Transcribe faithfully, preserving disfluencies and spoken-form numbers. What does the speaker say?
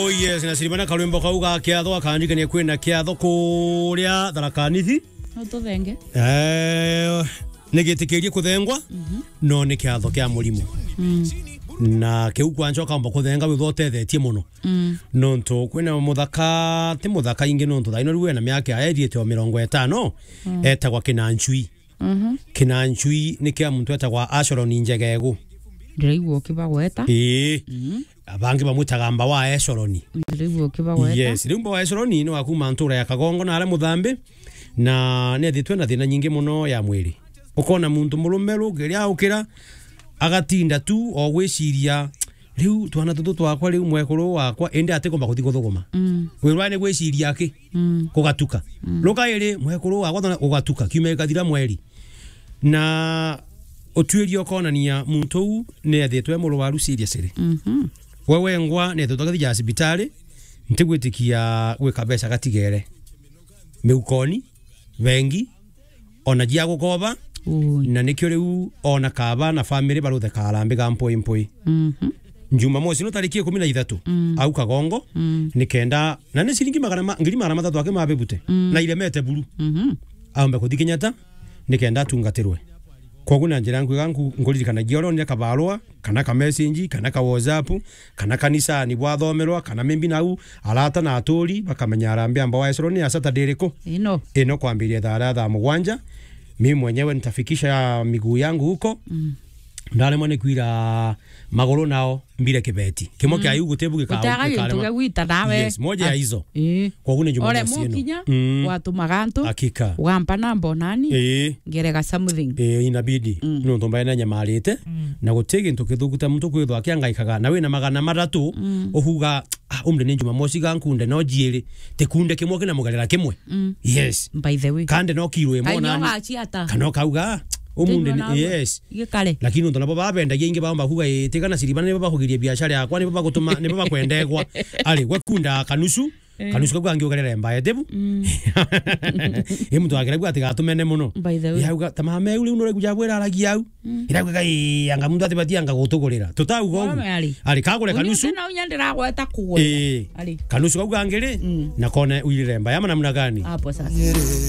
Oh yes, na Silvana karwimbo kau ga kiatho akandikania kwina kiatho kuria Tharaka Nithi. Ututhenge. Eh, nigitikirie kuthengwa, Mhm. no ni kiatho kia murimo. Mm. Na kiu kwanja ukamba kuthenga withwa utethetie muno. Mm. Nontu kwina muthaka, ti muthaka ingi nontu thaino riu ena miaka ya iriete o mirongo itano, Mm. etagwa Kinanchui. Mhm. Kinanchui ni kia muntu etagwa Asholoni Njegegu. Ndiraigua ukibagweta. Ii. Mhm. Bangi bamwitaga mba wa Esholoni. Ndiraigua ukibagweta. Yes, riu mba wa Esholoni ni wa kuma ntura ya Kagongo na aria Muthambi, na ni ethitwe na thina nyingi muno ya mwiri. Ukona muntu murume rukiria ukira, agatinda tu o gwiciria, "Riu twana tutu twakwa, riu mwekuru wakwa, indi atikumba kuthi kuthuguma." Mm. Wirwa ni gwiciria aki? Mm. Kugatuka. Mm. Ruka iri, mwekuru wakwa, twana, ugatuka. Kiumia gikathira mweri. Na utuiria ukonania muntu uu ni ethitwe murwaru seriously. Mhm. We wengwa ni ethitwe akithija cibitari, ntigwitikia gwika mbeca gatigere. Miukoni, bengi, ona jia gukoba, Ui. na nikio riu ona kaba na family barutheka arambi ga mpui mpui. Mhm. Jumamosi no tariki ikumi na ithatu, Mm. au Kagongo, Mm. nikenda, na ni ciringi magana ma-, ngiri magana mathatu aki mabibute, Mm. na iremete buru. Mhm. Aumbe kuthi Kenyatta, nikenda atungatirwe. Kwogu na njira nkwega nku-, nkuririkanagia uria onire kabarua, kana ka message, kana ka WhatsApp, kana kanisani bwathomerwa, kana maybe nau arata na aturi bakamenya arambi amba wa Esroni ya Saturday iriku? Ino. Ino kwambiria thaa ria thaa mugwanja. Mimi mwenyewe nitafikisha miguu yangu huko. Mm. Ndaremwa ni kwira maguru nao mbire kibeti. Kimwe Mm. kia iu gutibu gika-, Gutaga gikare gintu ma-, gia gwita nawe. Yes, moja ya Ah. izo. Ii. Kwogu ni Jumamosi ino. Ore mukinya, Mm. watumaga antu, Hakika. Wampa namba o nani, Ii. ngerega something. Ii, inabidi. Mm. Nontu mbae na nyamarite, Mm. na guti gintu kithuku ta muntu kwithwa akiangaikaga, na wina magana mathatu, Mm. uhuga, "Ah, umde ni Jumamosi ga nkunde no jiiri." Tikunde kimwe kina mugerera kimwe. Mm. Yes. By the way. Kande no kiro imwe Kainyo nani. gachiata. Kana ukauga, "Ah, umunde Thĩinĩ ni," wa yes. Gikare. Lakini nontu nabo babendagia ingi baomba kuga, "Ii, tiga na Silvana nibo bakugiria biashara yakwa, nibo bagutuma, nibo bakwendegwa." Ari, gwe kunda kanusu, Eh. kanusu kau kangi ugerere mbae, tibu? Mm. Ii, muntu akira gwa ati gatumene muno. By the way. Yauga, "Ta mama eu riu nuregu jabwira aragia au." Mm. Ira gwe kai anga muntu ati bati anga gutugurira. Tutauga Wame ugu. ari. Ari, kagure Unyuke kanusu. na unya ndiragweta kugweta. Ii. Ari. Kanusu kau kangiri, Mm. na kone uirire mbae ama namna gani? Hapo sasa.